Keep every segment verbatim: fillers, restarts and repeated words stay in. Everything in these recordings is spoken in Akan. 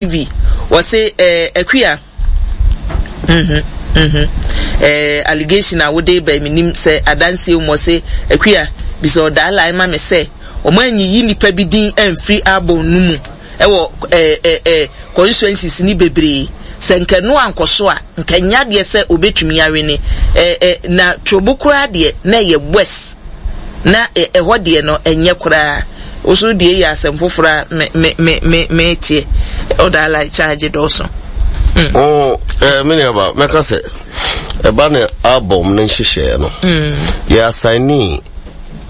T V wɔse eh, Akua, mhm mhm eh, allegation a wode ba, menim sɛ adanseɛ mu. Wɔse Akua bisa ɔdaa ma me sɛ ɔmo anyiyi nipa bi din amfiri album no mu ɛwɔ eh, eh, eh, constituencies ni bebree sɛ nka no ankɔ so a, nka nya deɛ sɛ obetumi awene eh, eh, na Trobu koraa deɛ na ɛyɛ west na ɛhɔ deɛ no ɛnyɛ koraa. Woso deɛ yɛ asɛm foforɔ a me me me me me teɛ ɔda like charge dɔɔso. Mm. Oh, eh, me nuaba, mɛka sɛ ɛba ne album ne nhyehyɛeɛ no, mm. yɛ assign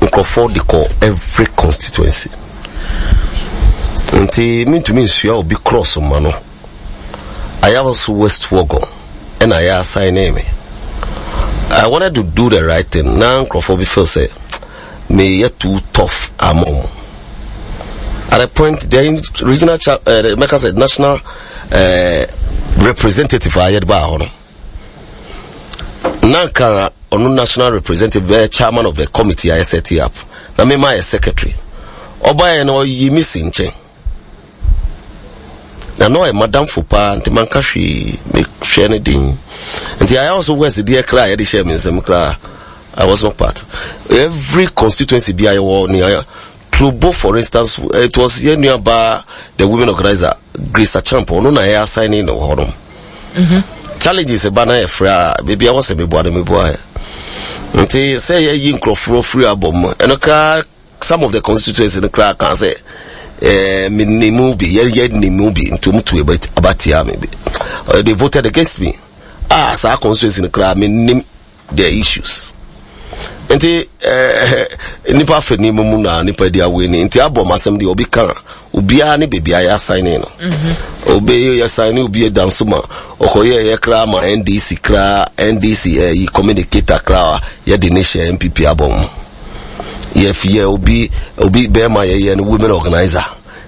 nkurɔfoɔ de kɔ every constituency, nti mentumi nsua obi cross ma no. Ayawaso West Wuogon ɛna yɛ assign me. I wanted to do the right thing na nkurɔfoɔ bi feel sɛ meyɛ too tough ama ɔmo. At a point, the regional cha uh, mɛka sɛ national uh, representative a yɛde baa hɔ no, na nka ɔno national representative bɛyɛ chairman of the committee a yɛ set up, na mema yɛ secretary. Ɔbaeɛ no, ɔyi mi si nkyɛn na na ɔyɛ madamfo paa, nti manka hwee, mehwɛ no den. Nti Ayawaso West deɛ kra a yɛde hyɛ me nsɛm koraa, I was not part. Every constituency bi a yɛwɔ nea Trobu, for instance, it was yɛn nua baa, the women organizer, Grace Achampo, ɔno na yɛ assigning no wɔ hɔ nom. Challenges ɛba na yɛfrɛ a, baabi a wɔsɛ meboa no, meboa yɛ. Nti sɛ yɛyi nkurɔfoɔ firi abɔ mu, ɛno koraa some of the constituency no koraa kan sɛ ɛɛ me nimu bi, yɛ yɛ nimu bi, nti wɔn tu aba tia me bi. They voted against me. Ah, saa constituency no koraa me nim their issues. Nti ɛɛ nipa afɛ nneɛma mu na nipa di awo ni, nti abɔ mu asɛm deɛ obi ka, obiara ne beebi a yɛ assign no. Obi yɛ assign obi da nso ma ɔkɔyɛ yɛ koraa ma N D C koraa, N D C ɛyi communicator koraa yɛde ne hyɛ N P P abɔ mu. Yɛfi yɛ obi obi bɛrima yɛyɛ no women organizer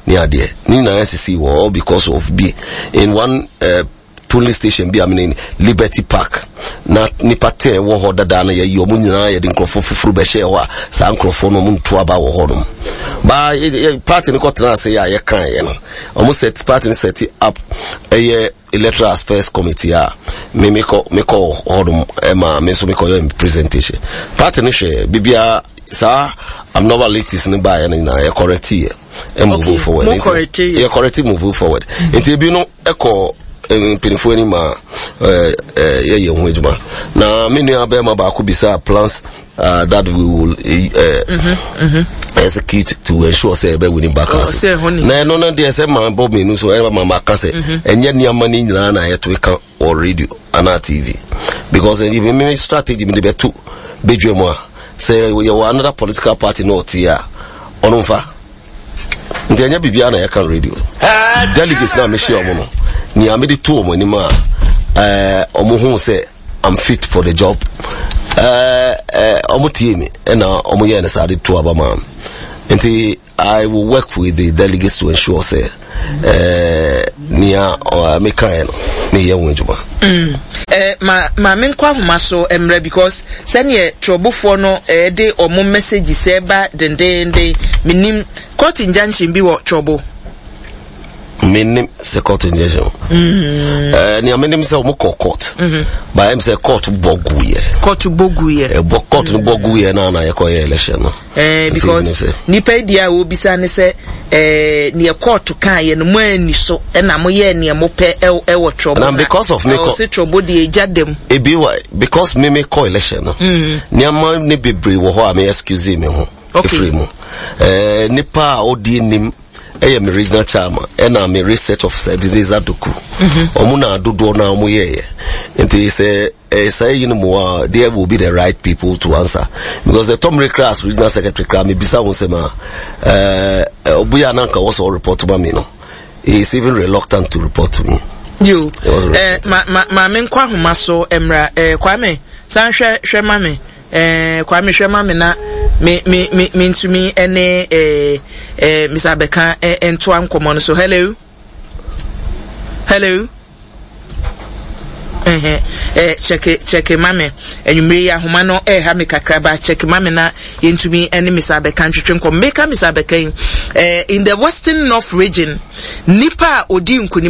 ne adeɛ ne nyinaa sisi wɔ all because of bi in one uh, polling station bi a mene Liberty Park na nipa tɛ wɔ hɔ dada no, yɛyi ɔmo nyinaa, yɛde nkurɔfoɔ foforɔ bɛhyɛ hɔ a saa nkurɔfoɔ no ɔmo nto aba wɔ hɔ nom. Baa party no kɔtena ase a yɛka yɛ no, ɔmo set party no set up ɛyɛ Electoral Affairs Committee a me mekɔ mekɔ hɔ nom, ɛma me nso mekɔ yɛ presentation. Party no hwɛ biribiara, saa abnormalities no baeɛ no nyinaa yɛ correct yɛ ɛ move Okay, forward. mo Nti- correct yɛ. Yɛ correct, move forward. Nti ebi no ɛkɔ eh, mpanyinfoɔ anim a ɛɛ ɛɛ yɛyɛ ho adwuma. Na me nua bɛrima baako bisa plans uh, that we will uh, execute to ensure sɛ ɛbɛ winning back Oh, us. sɛ ɛhɔ ni. Na ɛno no deɛ, sɛ maa bɔ mmienu so ɛna maa ma ka sɛ ɛnyɛ nneɛma no nyinaa na yɛto ka wɔ radio anaa T V, because ɛni mi strategy mi de bɛto bedwa mu a, sɛ yɛwɔ another political party na ɔte a, ɔno nfa. Nti ɛnyɛ biribiara na yɛka radio. Delegates na mehyia ɔmo no, nea mede to ɔmo anim a ɛɛ ɔmo hu sɛ I'm fit for the job, ɛɛ ɛɛ ɔmo tie mi ɛna ɔmo yɛ ne saa de to aba maa mi. Nti I will work with the delegates to ensure sɛ ɛɛ nea ɔɔ meka yɛ no, meyɛ ho adwuma. Eh, ma ma me nkɔ ahoma so mmerɛ because sɛneɛ Trobufoɔ no eh, de ɔmo message sɛ ba dendenden, menim court injunction bi wɔ Trobu. Menim sɛ court injunction, ɛɛ nea menim sɛ ɔmo kɔ court, but ɛm sɛ court bɔ gu yɛ. Court bɔ gu yɛ. Ɛbɔ court no bɔ gu yɛ na na yɛkɔ yɛ election no. Eh, Nti because menim sɛ- nipa yi deɛ a wɔbisa ne sɛ eh, neɛ court kaa yɛ no, mo ani so ɛna moyɛɛ neɛ mopɛ ɛwɔ ɛwɔ Trobu. Na because of me kɔ- ɔse Trobu deɛ egya dam. Ebi wa because me me kɔ election no, nneɛma ne bebree wɔ hɔ a me excuse me ho Okay. efiri mu. ɛɛ nipa a ɔdi anim ɛyɛ me regional chairman ɛna me research officer Ebenezer Doku. Ɔmo na dodoɔ na ɔmo yɛɛyɛ. Nti sɛ ɛɛ saa yi no mu a, there will be the right people to answer, because the tɔmire kra as regional secretary kra me bisa wɔn sɛm a, ɛɛ ɔbuya ananka wɔ sɛ ɔreport ma me no, he is even reluctant to report to me. Yo. It was eh, ma ma ma me nkɔ ahoma so mmra. eh, Kwame san hwɛ hwɛ ma me. eh, Kwame, hwɛ ma me na me me me mentumi ɛne eh, eh, Mister Abɛka eh, ntoa nkɔmmɔ no so. Hello, hello. Ɛhɛn, eh, check check ma me. Anwummere yi ahoma no ɛreha me kakra ba, check ma me na yɛntumi ɛne Mister Abɛka ntwetwe nkɔm. Meka Mister Abɛka yi, eh, in the Western North Region, nipa a odi nkunim